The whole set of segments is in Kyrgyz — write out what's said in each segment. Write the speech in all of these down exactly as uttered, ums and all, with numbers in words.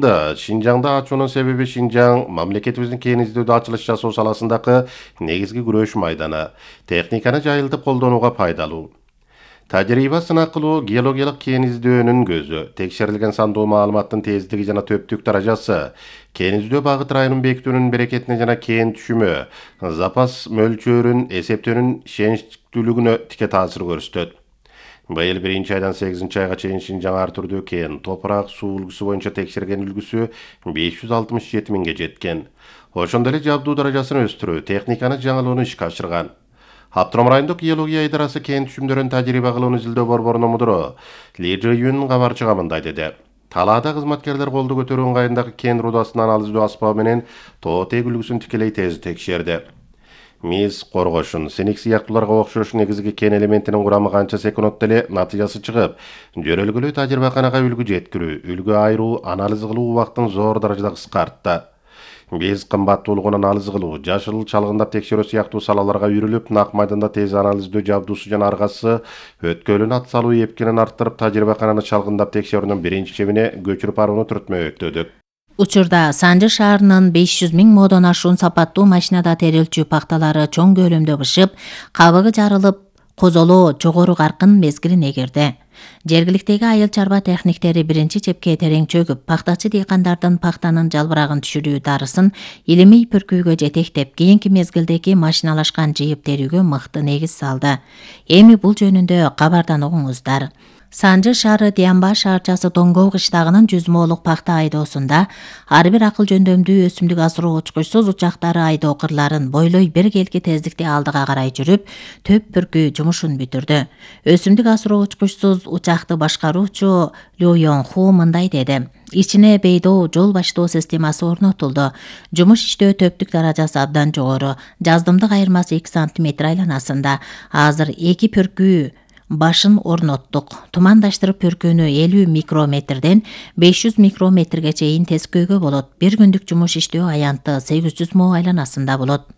Да, Шинжаңда ачуунун себеби Шинжаң мамлекетибиздин кең изилдөөдө ачылыш жасоо саласындагы негизги күрөш майданы. Техниканы жайылтып колдонууга пайдалуу. Тажрыйба сынак кылуу геологиялык кен изилдөөнүн көзү. Текшерилген сандуу маалыматтын тездиги жана төптүк даражасы, кен изилдөө багыт районун бекитүүнүн берекетине жана кен түшүмү, запас мөлчөрүн эсептөөнүн ишеничтүүлүгүнө тике таасир көрсөтөт. Быйыл биринчи айдан сегизинчи айга чейин Шинжаң ар түрдүү кен, топурак, суу үлгүсү боюнча текшерген үлгүсү беш жүз алтымыш жети миңге жеткен. Ошондой эле жабдуу даражасын өстүрүү, техниканы жаңылоону ишке ашырган. Аптыром райондук геология идарасы кен түшүмдөрүн тажрыйба кылууну изилдөө борборунун мудуру Ли Жи Юн кабарчыга мындай деди. Талаада кызматкерлер колду көтөрүү ыңгайындагы кен рудасын анализдөө аспабы менен тоо тег үлгүсүн тикелей тез текшерди. Мис коргошун, синик сыяктууларга окшош негизги кен элементинин курамы канча секундта эле натыйжасы чыгып, жөрөлгөлүү тажрыйбаканага үлгү жеткирүү, үлгү айыруу, анализ кылуу убактын зор даражада кыскартты. Биз кымбаттуулугун анализ кылуу, жашыл чалгындап текшерүү сыяктуу салаларга үйрүлүп, нак майданда тез анализдөө жабдуусу жана аргасы өткөлүн ат салуу эпкинин арттырып, тажрыйбакананы чалгындап текшерүүнүн биринчи чебине көчүрүп барууну түртмөктөдүк. Учурда Санжы шаарынын беш жүз миң модон ашуун сапаттуу машинада терилчү пахталары чоң көлөмдө бышып, кабыгы жарылып, козолоо жогору каркын мезгилине кирди. Жергиликтеги айыл чарба техниктери биринчи чепке терең чөгүп, пахтачы дыйкандардын пахтанын жалбырагын түшүрүү дарысын илимий пүркүүгө жетектеп, кийинки мезгилдеги машиналашкан жыйып терүүгө мыкты негиз салды. Эми бул жөнүндө кабардан угуңуздар. Санжы шаары Дианба шаарчасы Тоңгоо кыштагынын жүз моолук пахта айдоосунда ар бир акыл жөндөмдүү өсүмдүк асыруу учкучсуз учактары айдоо кырларын бойлой бир келки тездикте алдыга карай жүрүп, төп бүркүү жумушун бүтүрдү. Өсүмдүк асыруу учкучсуз учакты башкаруучу Лю Йонху мындай деди. Ичине бейдоо жол баштоо системасы орнотулду. Жумуш иштөө төптүк даражасы абдан жогору. Жаздымдык айырмасы эки сантиметр айланасында. Азыр эки пүркүү башын орноттук. Тумандаштырып пүркүүнү элүү микрометрден беш жүз микрометрге чейин тескөөгө болот. Бир күндүк жумуш иштөө аянты сегиз жүз мо айланасында болот.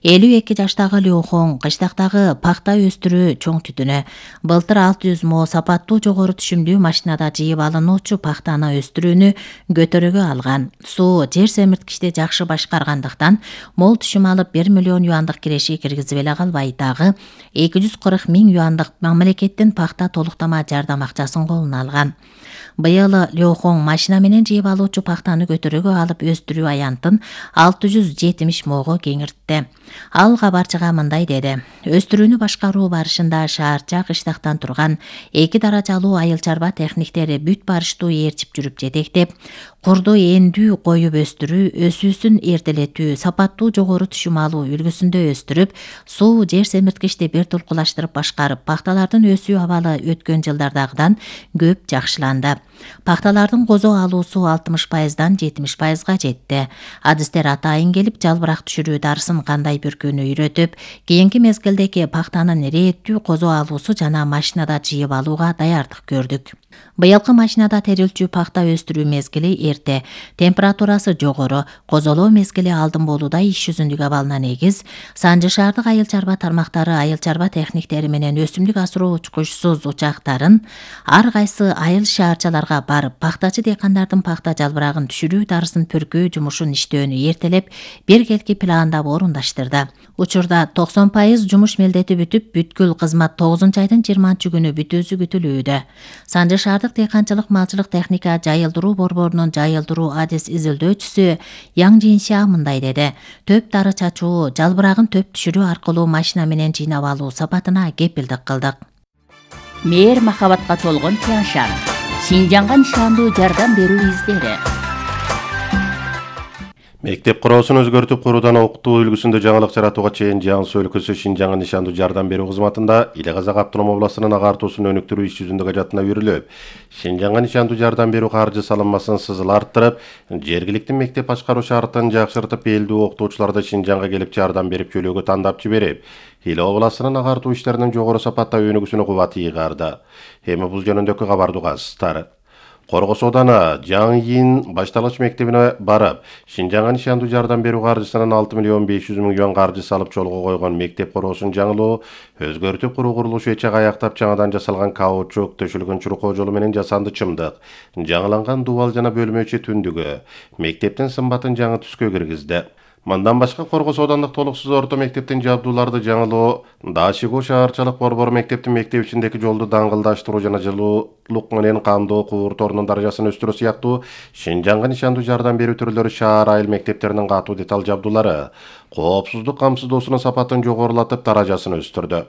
элүү эки жаштагы Лёхон кыштактагы пахта өстүрүү чоң түтүнө. Былтыр алты жүз мо сапаттуу жогору түшүмдүү машинада жыйып алынуучу пахтаны өстүрүүнү көтөрөгө алган. Суу жер семирткичти жакшы башкаргандыктан мол түшүм алып бир миллион юандык киреши киргизип эле калбай, дагы эки жүз кырк миң юандык мамлекеттин пахта толуктама жардам акчасын колуна алган. Быйыл Лёхон машина менен жыйып алуучу пахтаны көтөрөгө алып өстүрүү аянтын алты жүз жетимиш мого кеңиртти. Ал кабарчыга мындай деди. Өстүрүүнү башкаруу барышында шаарча кыштактан турган эки даражалуу айыл чарба техниктери бүт барыштуу ээрчип жүрүп жетектеп, курду эндүү коюп өстүрүү, өсүүсүн эртелетүү, сапаттуу жогору түшүм алуу үлгүсүндө өстүрүп, суу жер семирткичти бир тулкулаштырып башкарып, пахталардын өсүү абалы өткөн жылдардагыдан көп жакшыланды. Пахталардын козо алуусу алтымыш пайыздан жетимиш пайызга жетти. Адистер атайын келип, жалбырак түшүрүү дарысын кандай бүркүүнү үйрөтүп, кийинки мезгилдеги пахтанын ирээттүү козо алуусу жана машинада жыйып алууга даярдык көрдүк. Быйылкы машинада терилчү пахта өстүрүү мезгили эрте, температурасы жогору, козолоо мезгили алдын болууда иш жүзүндүк абалына негиз. Санжы шаардык айыл чарба тармактары айыл чарба техниктери менен өсүмдүк асыруу учкучсуз учактарын ар кайсы айыл шаарчаларга барып, пахтачы дыйкандардын пахта жалбырагын түшүрүү дарысын пүркүү жумушун иштөөнү эртелеп, бир келки пландап орундаштырды. Учурда токсон пайыз жумуш мелдети бүтүп, бүткүл кызмат тогузунчу айдын жыйырманчы күнү бүтүүсү күтүлүүдө. Санжы шаардык дыйканчылык малчылык техника жайылдыруу борборунун жайылдыруу адис изилдөөчүсү Яң Жинша мындай деди. Төп дары чачуу, жалбырагын төп түшүрүү аркылуу машина менен жыйнап алуу сапатына кепилдик кылдык. Мээр махабатка толгон Тяншан. Шинжаңга нишандуу жардам берүү издери. Мектеп куроосун өзгөртүп куруудан окутуу үлгүсүндө жаңылык жаратууга чейин Жаңсы өлкөсү Шинжаңга нишандуу жардам берүү кызматында Иле Казак автоном областынын агартуусун өнүктүрүү иш жүзүндө ажатына үйрүлүп, Шинжаңга нишандуу жардам берүү каржы салынмасын сызыл арттырып, жергиликтүү мектеп башкаруу шартын жакшыртып, элдүү окутуучуларды Шинжаңга келип жардам берип жөлөөгө тандап жиберип, Иле областынын агартуу иштеринин жогору сапатта өнүгүүсүнө кубат ыйгарды. Эми бул жөнүндөгү кабарды угасыздар. Коргос Оодана Жаңйин башталгыч мектебине барып, Шинжаңга нишандуу жардам берүү каржысынан алты миллион беш жүз миң юан каржы салып жолго койгон мектеп коросун жаңылоо, өзгөртүп куруу курулушу эчек аяктап жаңадан жасалган каучук төшөлгөн чуркоо жолу менен жасанды чымдык, жаңыланган дубал жана бөлмөчө түндүгү, мектептин сымбатын жаңы түскө киргизди. Мындан башка Коргос Оодандык толуксуз орто мектептин жабдууларды жаңылоо, Дашигу шаарчалык борбор мектептин мектеп ичиндеги жолду даңгылдаштыруу жана жылуулук менен камдоо куур торунун даражасын өстүрүү сыяктуу Шинжаңга нишандуу жардам берүү түрлөрү шаар айыл мектептеринин катуу деталь жабдуулары коопсуздук камсыздоосунун сапатын жогорулатып даражасын өстүрдү.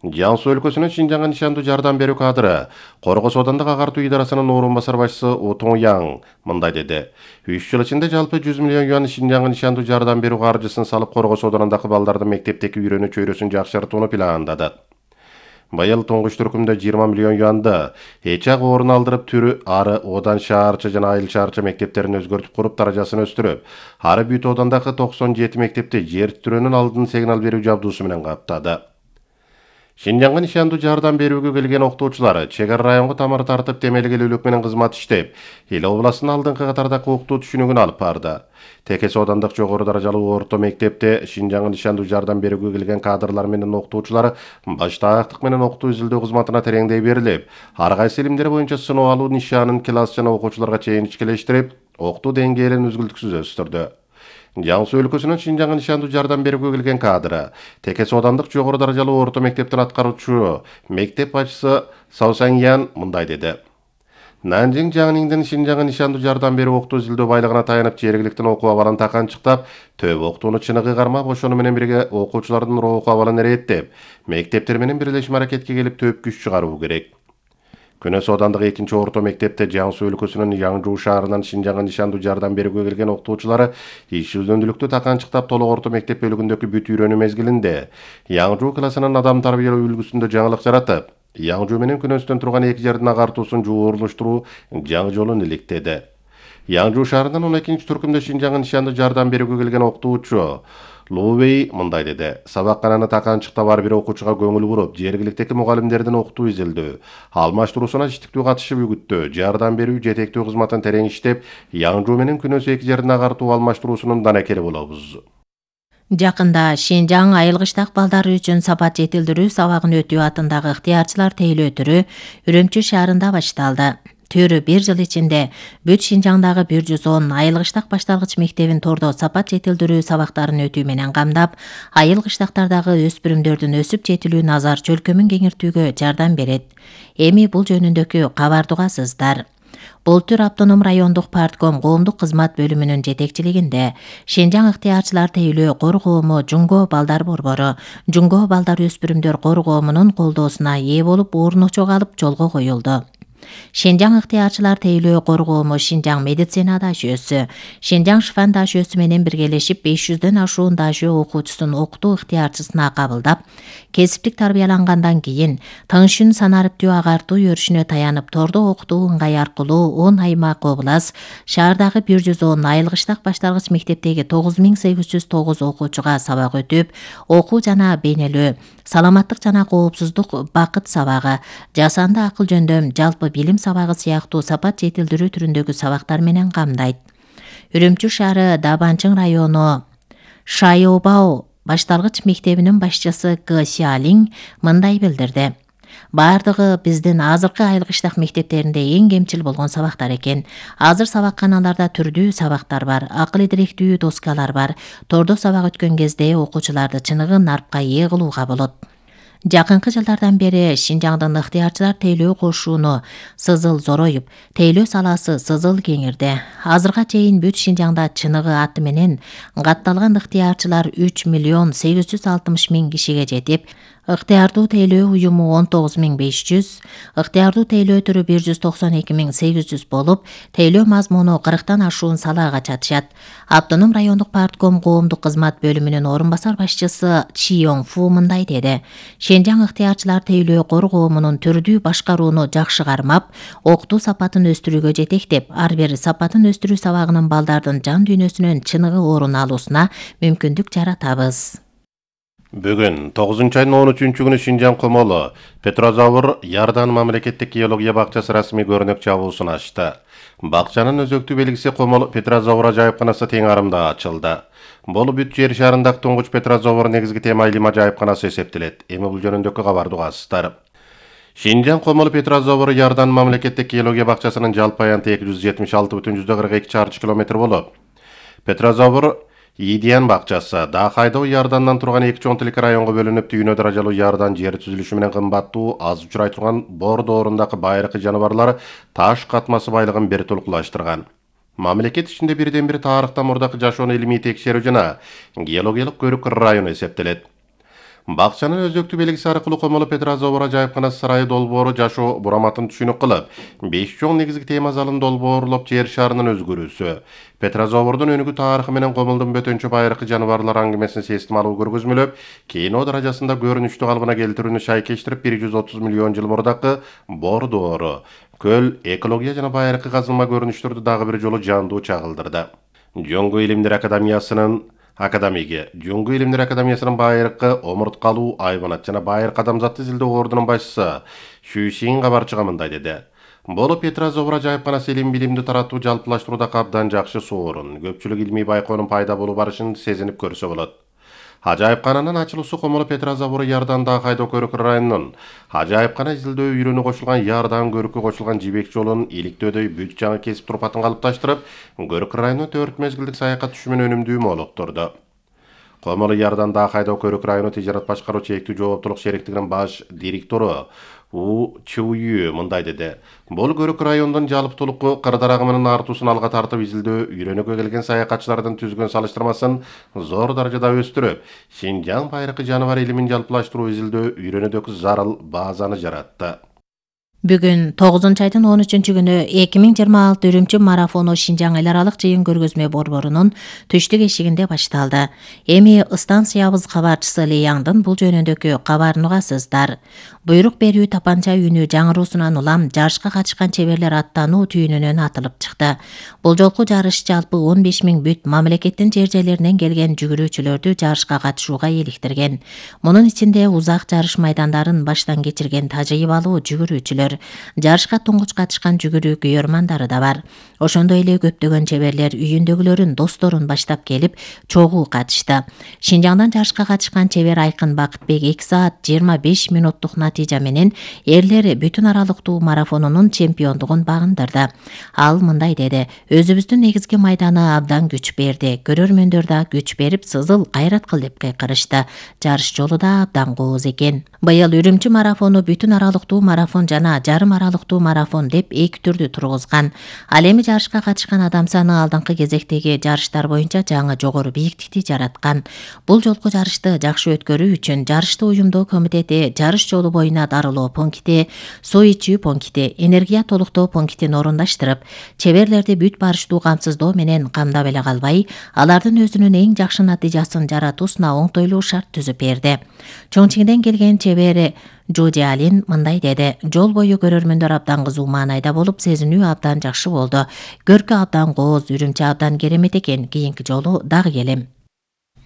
Жан Суу өлкөсүнүн Шинжаңга нишандуу жардам берүү кадры Коргос Оодандык агартуу идарасынын орун басар башчысы Утуң Яң мындай деди. үч жыл ичинде жалпы жүз миллион юан Шинжаңга нишандуу жардам берүү каржысын салып Коргос Оодандагы балдардын мектептеги үйрөнүү чөйрөсүн жакшыртууну пландадык. Быйыл туңгуч түркүмдө жыйырма миллион юанды эчак орун алдырып түрү ары Одан шаарчы жана айыл шаарчы мектептерин өзгөртүп куруп даражасын өстүрүп, ары Бүт Оодандагы токсон жети мектепти жер титирөөнүн алдын сигнал берүү жабдуусу менен каптады. Шинжаңга нишандуу жардам берүүгө келген окутуучулар чек ара районго тамыр тартып темелгелүүлүк менен кызмат иштеп, эл областынын алдыңкы катардагы окутуу түшүнүгүн алып барды. Текес Оодандык жогору даражалуу орто мектепте Шинжаңга нишандуу жардам берүүгө келген кадрлар менен окутуучулар баштаактык менен окутуу изилдөө кызматына тереңдей берилип, ар кайсы илимдер боюнча сыноо алуу нишанын класс жана окуучуларга чейин ичкелештирип, окутуу деңгээлин үзгүлтүксүз өстүрдү. Жан Суу өлкөсүнүн Шинжаңга нишандуу жардам берүүгө келген кадры Текес Оодандык жогору даражалуу орто мектептин аткаруучу мектеп башчысы Саусаңян мындай деди. Нанжың Жаңниңдин Шинжаңга нишандуу жардам берүү окутуу изилдөө байлыгына таянып, жергиликтин окуу абалын таканчыктап, төп окутууну чыныгы кармап, ошону менен бирге окуучулардын окуу абалын эреттеп, мектептер менен бирлешим аракетке келип төп күч чыгаруу керек. Күнөс Оодандык экинчи орто мектепте Жан Суу өлкөсүнүн Яңжуу шаарынан Шинжаңга нишандуу жардам берүүгө келген окутуучулары иш үзөндүлүктү таканчыктап толук орто мектеп бөлүгүндөгү бүт үйрөнүү мезгилинде Яңжуу классынын адам тарбиялоо үлгүсүндө жаңылык жаратып, Яңжуу менен Күнөстөн турган эки жердин агартуусун жуурулуштуруу жаңы жолун иликтеди. Яңжуу шаарынан он экинчи түркүмдө Шинжаңга нишандуу жардам берүүгө келген окутуучу Лубей мындай деди. Сабаккананы таканчыктап ар бир окуучуга көңүл буруп, жергиликтеги мугалимдердин окутуу изилдөө, алмаштыруусуна иштиктүү катышып үгүттөө, жардам берүү жетектүү кызматын терең иштеп, Яңжуу менен Күнөс эки жердин агартуу алмаштыруусунун данакери болобуз. Жакында Шинжаң айыл кыштак балдары үчүн сапат жетилдирүү сабагын өтүү атындагы ыктыярчылар тейлөө түрү Үрөмчү шаарында башталды. Төрү бир жыл ичинде бүт Шинжаңдагы бир жүз он айыл кыштак башталгыч мектебин тордо сапат жетилдирүү сабактарын өтүү менен камдап, айыл кыштактардагы өспүрүмдөрдүн өсүп жетилүү назар чөлкөмүн кеңиртүүгө жардам берет. Эми бул жөнүндөгү кабарды угасыздар. Былтыр Автоном райондук партком коомдук кызмат бөлүмүнүн жетекчилигинде Шинжаң ыктыярчылар тейлөө кор коому Жунго балдар борбору, Жунго балдар өспүрүмдөр кор коомунун колдоосуна ээ болуп орночок алып жолго коюлду. Шинжаң ыктыярчылар тейлөө кор коому Шинжаң медицина дашөөсү, Шинжаң шифан дашөөсү менен биргелешип беш жүздөн ашуун дашөө окуучусун окутуу ыктыярчысына кабылдап, кесиптик тарбиялангандан кийин тынчын санариптүү агартуу өрүшүнө таянып тордо окутуу ыңгай аркылуу он аймак облас, шаардагы бир жүз он айыл кыштак башталгыч мектептеги тогуз миң сегиз жүз тогуз окуучуга сабак өтүп, окуу жана бейнелөө, саламаттык жана коопсуздук бакыт сабагы, жасанды акыл жөндөм, жалпы билим сабагы сыяктуу сапат жетилдирүү түрүндөгү сабактар менен камдайт. Үрөмчү шаары Дабанчың району Шайобао башталгыч мектебинин башчысы К. Сиалиң мындай билдирди. Бардыгы биздин азыркы айыл кыштак мектептеринде эң кемчил болгон сабактар экен. Азыр сабакканаларда түрдүү сабактар бар, акыл идиректүү доскалар бар. Тордо сабак өткөн кезде окуучуларды чыныгы нарпка ээ кылууга болот. Жакынкы жылдардан бери Шинжаңдын ыктыярчылар тейлөө кошууну сызыл зороюп, тейлөө саласы сызыл кеңирди. Азырга чейин бүт Шинжаңда чыныгы аты менен катталган ыктыярчылар үч миллион сегиз жүз алтымыш миң кишиге жетип, ыктыярдуу тейлөө уюму он тогуз миң беш жүз, ыктыярдуу тейлөө түрү бир жүз токсон эки миң сегиз жүз болуп, тейлөө мазмуну кырктан ашуун салаага чатышат. Автоном райондук партком коомдук кызмат бөлүмүнүн орун басар башчысы Чиёң Фу мындай деди. Шинжаң ыктыярчылар тейлөө кор коомунун түрдүү башкарууну жакшы кармап, окутуу сапатын өстүрүүгө жетектеп, ар бир сапатын өстүрүү сабагынын балдардын жан дүйнөсүнөн чыныгы орун алуусуна мүмкүндүк жаратабыз. Бүгүн тогузунчу айдын он үчүнчү күнү Шинжаң Комолу Петрозавр Ярдан мамлекеттик геология бакчасы расмий көрүнөк жабуусун ачты. Бакчанын өзөктүү белгиси Комол Петрозавр ажайыпканасы тең арымда ачылды. Бул бүт жер шарындагы туңгуч Петрозавр негизги тема илим ажайыпканасы эсептелет. Эми бул жөнүндөгү кабарды угасыздар. Шинжаң Комол Петрозавр Ярдан мамлекеттик геология бакчасынын жалпы аянты эки жүз жетимиш алты бүтүн жүздөн кырк эки чарчы километр болуп, Петрозавр Идиан бакчасы Дахайдоо Ярдандан турган эки чоң тилик районго бөлүнүп, түйүнө даражалуу Ярдан жер түзүлүшү менен кымбаттуу, аз учурай турган бор доорундагы байыркы жаныбарлар таш катмасы байлыгын бир толкулаштырган. Мамлекет ичинде бирден бир тарыхтан мурдакы жашоону илимий текшерүү жана геологиялык көрүк району эсептелет. Бакчанын өзөктүү белгиси аркылуу Комолу Петрозавр ажайыпканасы сарайы долбоору жашоо бураматын түшүнүк кылып, беш чоң негизги тема залын долбоорлоп, жер шарынын өзгөрүүсү, Петрозаврдун өнүгүү тарыхы менен Комолдун бөтөнчө байыркы жаныбарлар аңгемесин сестималуу көргөзмөлөп, кино даражасында көрүнүштүү калыбына келтирүүнү шайкештирип, бир жүз отуз миллион жыл мурдакы бор доору, көл, экология жана байыркы казылма көрүнүштөрдү дагы бир жолу жандуу чагылдырды. Жоңгу илимдер академиясынын академиги, Жоңгу илимдер академиясынын байыркы омурткалуу айбанат жана байыркы адамзатты изилдөө ордунун башчысы Шүшин кабарчыга мындай деди. Бул Петрозавр ажайыпканасы илим билимди таратуу, жалпылаштырууда абдан жакшы соорун. Көпчүлүк илимий байкоонун пайда болуу барышын сезинип көрсө болот. Ажайыпкананын ачылуусу Комолу Петрозавр Ярдан Дахайдоо көрүк районунун ажайыпкана изилдөө үйрөнүү кошулган Ярдан көрүккө кошулган жибек жолун иликтөөдөй бүт жаңы кесип турпатын калыпташтырып, көрүк районуна төрт мезгилдик саякат түшүмүн өнүмдүү молоктурду. Комолу Ярдан Дахайдоо көрүк району тижарат башкаруу чектүү жооптулук шериктигинин баш директору У Чуюй мындай деди. Бул көрүк райондун жалптуулуку кырдар агымынын артуусун алга тартып, изилдөө үйрөнүүгө келген саякатчылардын түзгөн салыштырмасын зор даражада өстүрүп, Шинжаң байыркы жаныбар илимин жалпылаштыруу, изилдөө үйрөнүүдөгү зарыл базаны жаратты. Бүгүн тогузунчу айдын он үчүнчү күнү эки миң жыйырма алты Үрүмчү марафону Шинжаң эл аралык жыйын көргөзмө борборунун түштүк эшигинде башталды. Эми станциябыз кабарчысы Ли Яңдын бул жөнүндөгү кабарын угасыздар. Буйрук берүү тапанча үнү жаңыруусунан улам жарышка катышкан чеберлер аттануу түйүнүнөн атылып чыкты. Бул жолку жарыш жалпы он беш миң бүт мамлекеттин жер жерлеринен келген жүгүрүүчүлөрдү жарышка катышууга иликтирген. Мунун ичинде узак жарыш майдандарын баштан кечирген тажрыйбалуу жүгүрүүчүлөр, жарышка туңгуч катышкан жүгүрүү күйөрмандары да бар. Ошондой эле көптөгөн чеберлер үйүндөгүлөрүн, досторун баштап келип, чогуу катышты. Шинжаңдан жарышка катышкан чебер Айкын Бакытбек эки саат жыйырма беш минуттук натыйжа менен эрлер бүтүн аралыктуу марафонунун чемпиондугун багындырды. Ал мындай деди: "Өзүбүздүн негизги майданы абдан күч берди. Көрөрмөндөр да күч берип, сызыл кайрат кыл деп кыйкырышты. Жарыш жолу да абдан кооз экен." Быйыл Үрүмчү марафону бүтүн аралыктуу марафон жана жарым аралыктуу марафон деп эки түрдү тургузган. Ал эми жарышка катышкан адам саны алдыңкы кезектеги жарыштар боюнча жаңы жогору бийиктикти жараткан. Бул жолку жарышты жакшы өткөрүү үчүн жарышты уюмдоо комитети жарыш жолу боюна дарылоо пункти, суу ичүү пункти, энергия толуктоо пунктин орундаштырып, чеберлерди бүт барыштуу камсыздоо менен камдап эле калбай, алардын өзүнүн эң жакшы натыйжасын жаратуусуна оңтойлуу шарт түзүп берди. Чоңчиңден келген чебери Жоди Алин мындай деди: "Жол бою көрөрмөндөр абдан кызуу маанайда болуп, сезинүү абдан жакшы болду. Көркү абдан кооз, Үрүмчү абдан керемет экен. Кийинки жолу дагы келем."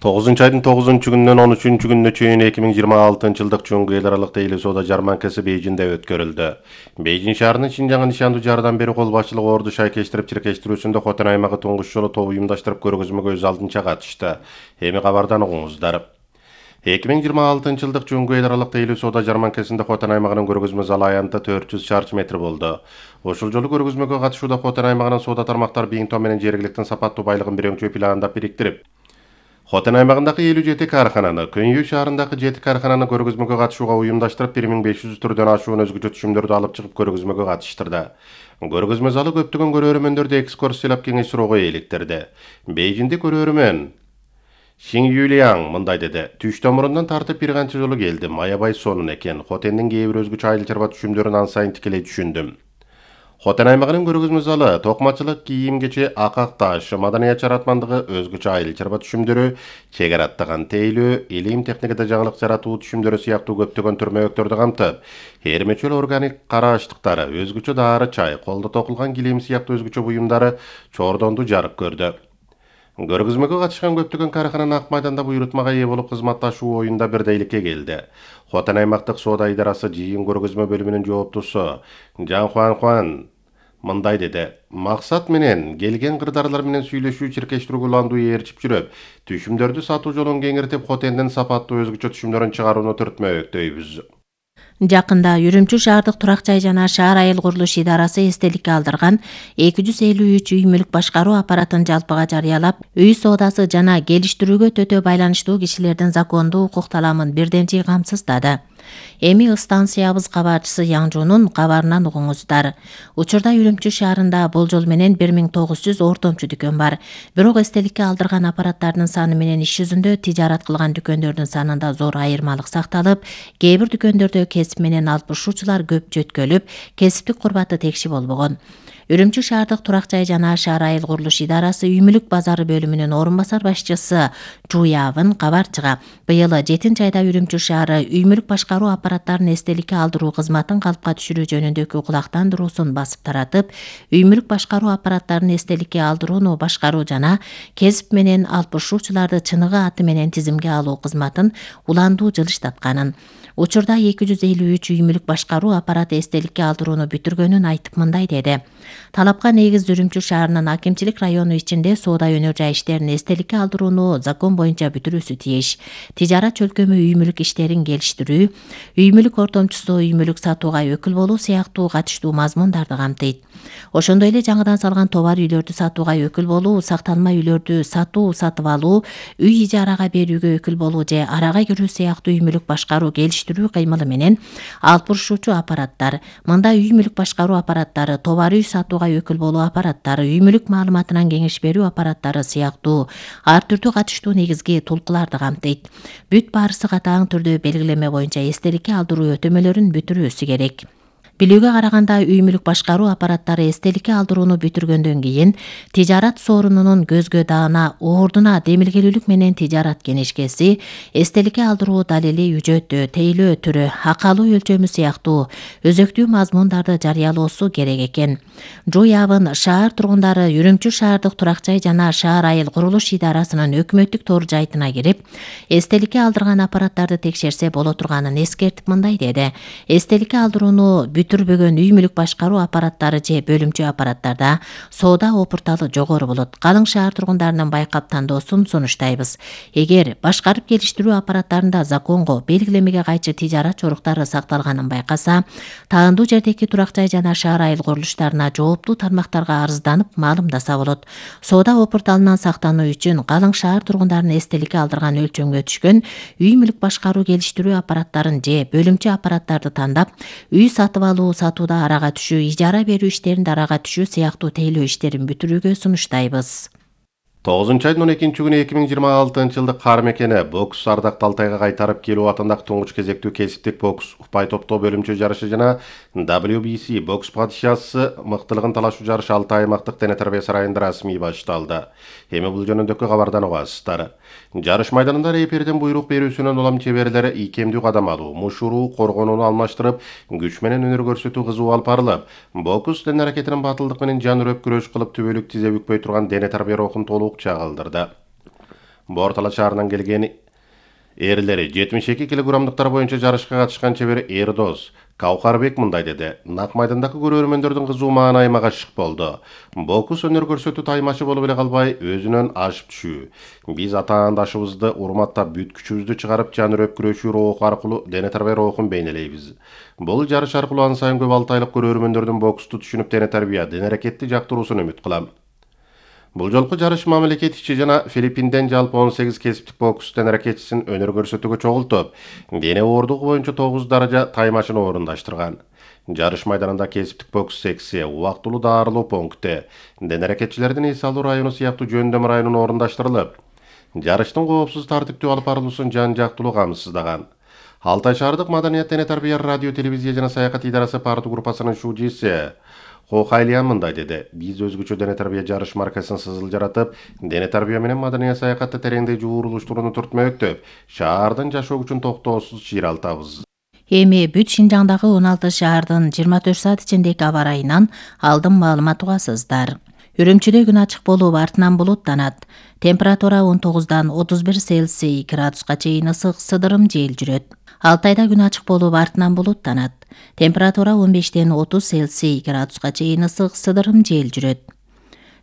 тогузунчу айдын тогузунчу күнүнөн он үчүнчү күнүнө чейин эки миң жыйырма алтынчы жылдык Жоңгу эл аралык тейлөө соода жарманкасы Бейжиңде өткөрүлдү. Бейжиң шаарынын Шинжаңга нишандуу жардам берүү кол башчылыгы орду шайкештирип чиркештирүүсүндө Хотен аймагы туңгуч жолу тобу уюмдаштырып көргөзмөгө өз алдынча катышты. Эми кабардан угуңуздар. эки миң жыйырма алтынчы жылдык Жоңгу эл аралык тейлөө соода жарманкасында Хотен аймагынын көргөзмө залы аянты төрт жүз чарчы метр болду. Ошол жолу көргөзмөгө катышууда Хотен аймагынын соода тармактары Биңтон менен жергиликтин сапаттуу байлыгын бирөңчө пландап бириктирип, Хотен аймагындагы элүү жети каархананы, Көнйүү шаарындагы жети каархананы көргөзмөгө катышууга уюмдаштырып, бир миң беш жүз түрдөн ашуун өзгөчө түшүмдөрдү алып чыгып көргөзмөгө катыштырды. Көргөзмө залы көптөгөн көрөрмөндөрдү экскурсиялап кеңеш суроого eeliktirdi. Бейжиңде көрөрмөн Шиң Юлиаң мындай деди: "Түштөн мурундан тартып бир канча жолу келдим. Аябай сонун экен. Хотендин кээ бир өзгөчө айыл чарба түшүмдөрүн ан сайын тикелей түшүндүм." Хотен аймагынын көргөзмө залы токмачылык, кийим-кече, акак таш, маданият жаратмандыгы, өзгөчө айыл чарба түшүмдөрү, чегара аттаган тейлөө, илим техникада жаңылык жаратуу түшүмдөрү сыяктуу көптөгөн түрмөктөрдү камтып, эрмечөл органик кара аштыктары, өзгөчө дары чай, колдо токулган килем сыяктуу өзгөчө буюмдары чордонду жарык көрдү. Көргөзмөгө катышкан көптөгөн каархана Ак майданда буйрутмага ээ болуп кызматташуу оюнда бирдейликке келди. Хотан аймактык соода идарасы жыйын көргөзмө бөлүмүнүн жооптусу Жан Хуан Хуан мындай деди: максат менен келген кырдаарлар менен сүйлөшүү, чиркештирүү уландуу ээрчип жүрүп, түшүмдөрдү сатуу жолун кеңиртип, Хотендин сапаттуу өзгөчө түшүмдөрүн чыгарууну түртмөктөйбүз. Жакында Үрүмчү шаардык турак жай жана шаар айыл курулуш идарасы эстеликке алдырган эки жүз элүү үч үй мүлк башкаруу аппаратын жалпыга жарыялап, үй соодасы жана келиштирүүгө төтө байланыштуу кишилердин закондуу укук таламын бирдемчи камсыздады. Эми станциябыз кабарчысы Яңжунун кабарынан угуңуздар. Учурда Үрүмчү шаарында болжол менен бир миң тогуз жүз ортомчу дүкөн бар. Бирок эстеликке алдырган аппараттардын саны менен иш жүзүндө тижарат кылган дүкөндөрдүн санында зор айырмалык сакталып, кээ бир дүкөндөрдө кесип менен алышуучулар көп жөткөлүп, кесиптик курбаты текши болбогон. Үрүмчү шаардык турак жай жана шаар айыл курулуш идарасы үй мүлк базары бөлүмүнүн орун басар башчысы Жуявын кабарчыга быйыл жетинчи айда Үрүмчү шаары үй мүлк башкаруу аппараттарын эстеликке алдыруу кызматын калпка түшүрүү жөнүндөгү кулактандыруусун басып таратып, үй мүлк башкаруу аппараттарын эстеликке алдырууну башкаруу жана кесип менен алышуучуларды чыныгы аты менен тизимге алуу кызматын уландуу жылыштатканын, учурда эки жүз элүү үч үй мүлк башкаруу аппараты эстеликке алдырууну бүтүргөнүн айтып мындай деди: талапка негиз Үрүмчү шаарынын акимчилик району ичинде соода өнөр жай иштерин эстеликке алдырууну закон боюнча бүтүрүүсү тийиш. Тижарат чөлкөмү үй мүлк иштерин келиштирүү, үй мүлк ортомчусу үй мүлк сатууга өкүл болуу сыяктуу катыштуу мазмундарды камтыйт. Ошондой эле жаңыдан салган товар үйлөрдү сатууга өкүл болуу, сакталма үйлөрдү сатуу, сатып алуу, үй ижарага берүүгө өкүл болуу же арага кирүү сыяктуу үй мүлк башкаруу келиштирүү кыймылы менен алышуучу аппараттар. Мында үй мүлк башкаруу аппараттары, товар үй сатууга өкүл болуу аппараттары, үй мүлк маалыматынан кеңеш берүү аппараттары сыяктуу ар түрдүү катыштуу негизги тулкуларды камтыйт. Бүт баарысы катаң түрдө белгилеме боюнча эстеликке алдыруу өтөмөлөрүн бүтүрүүсү керек. Билүүгө караганда, үй мүлк башкаруу аппараттары эстеликке алдырууну бүтүргөндөн кийин тижарат сорунунун көзгө даана, ордуна демилгелүүлүк менен тижарат кенешкеси, эстеликке алдыруу далили үжөтү, тейлөө түрү, акалуу өлчөмү сыяктуу өзөктүү мазмундарды жарыялоосу керек экен. Жуявын шаар тургундары Үрүмчү шаардык турак жай жана шаар айыл курулуш идарасынын өкмөттүк тор жайтына кирип, эстеликке алдырган аппараттарды текшерсе боло турганын эскертип мындай деди: эстеликке алдырууну бүтүрбөгөн үй мүлк башкаруу аппараттары же бөлүмчө аппараттарда соода опурталы жогору болот. Калың шаар тургундарынын байкап тандоосун сунуштайбыз. Эгер башкарып келиштирүү аппараттарында законго, белгилемеге кайчы тижарат жоруктары сакталганын байкаса, таандуу жердеги турак жай жана шаар айыл курулуштарына жооптуу тармактарга арызданып маалымдаса болот. Соода опурталынан сактануу үчүн калың шаар тургундарын эстеликке алдырган өлчөмгө түшкөн үй мүлк башкаруу келиштирүү аппараттарын же бөлүмчө аппараттарды тандап, үй сатып алуу, сатууда арага түшүү, ижара берүү иштеринде арага түшүү сыяктуу тейлөө иштерин бүтүрүүгө сунуштайбыз. тогузунчу айдын он экинчи күнү эки миң жыйырма алтынчы жылдык кар мекени бокс ардакты Алтайга кайтарып келүү атындагы туңуч кезектүү кесиптик бокс упай топтоо бөлүмчө жарышы жана дабл ю би си бокс падышасы мыктылыгын талашуу жарышы Алтай аймактык дене тарбия сарайында расмий башталды. Эми бул жөнүндөгү кабардан угасыздар. Жарыш майданында рефериден буйрук берүүсүнөн улам чеберлер ийкемдүү кадам алуу, мушуруу, коргонууну алмаштырып, күч менен өнөр көрсөтүү кызуу алып барылып, бокс дене аракетинин батылдык менен жан үрөп күрөш кылып түбөлүк тизе бүкпөй турган дене тарбия рухун толук чагылдырды. Бортала шаарынан келген эрлери жетимиш эки килограммдыктар боюнча жарышка катышкан чебер Эрдос Каукарбек мындай деди: Нак майдандагы көрөрмөндөрдүн кызуу маанайыма гашык болду. Бокс өнөр көрсөтүү таймачы болуп эле калбай, өзүнөн ашып түшүү. Биз атаандашыбызды урматтап, бүт күчүбүздү чыгарып, жан үрөп күрөшүү руху аркылуу дене тарбия рухун бейнелейбиз. Бул жарыш аркылуу ан сайын көп алтайлык көрөрмөндөрдүн боксту түшүнүп, дене тарбия, дене аракетти жактыруусун үмүт кылам. Бул жолку жарыш мамлекет ичи жана Филиппинден жалпы он сегиз кесиптик бокс дене аракетчисин өнөр көрсөтүүгө чогултуп, дене оордугу боюнча тогуз даража таймашын орундаштырган. Жарыш майданында кесиптик бокс секция, убактылуу даарылоо пункти, дене аракетчилердин эс алуу району сыяктуу жөндөм районун орундаштырылып, жарыштын коопсуз тартиптүү алып барылуусун жан жактылуу камсыздаган. Алтай шаардык маданият, дене тарбия, радио, телевизия жана саякат идарасы парту группасынын шужиси Хохайлиан мындай деди: Биз өзгөчө дене тарбия жарыш маркасын сызыл жаратып, дене тарбия менен маданият саякатты тереңдей жуурулуштурууну түртмөктөп, шаардын жашоо күчүн токтоосуз чыйралтабыз. Эми бүт Шинжаңдагы он алты шаардын жыйырма төрт саат ичиндеги аба ырайынан алдын маалымат угасыздар. Үрүмчүдө күн ачык болуп, артынан булуттанат. Температура он тогуздан отуз бир Цельсий градуска чейин ысык сыдырым жел жүрөт. Алтайда күн ачык болуп, артынан булуттанат. Температура он бештен отуз Цельсий градуска чейин ысык сыдырым жел жүрөт.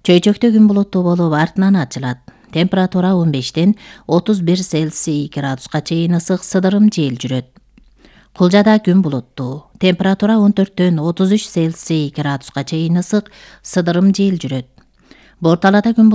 Чөйчөктө күн булуттуу болуп, артынан ачылат. Температура он бештен отуз бир Цельсий градуска чейин ысык сыдырым жел жүрөт. Кулжада күн булуттуу. Температура он төрттөн отуз үч Цельсий градуска чейин ысык сыдырым жел жүрөт. Борталада күн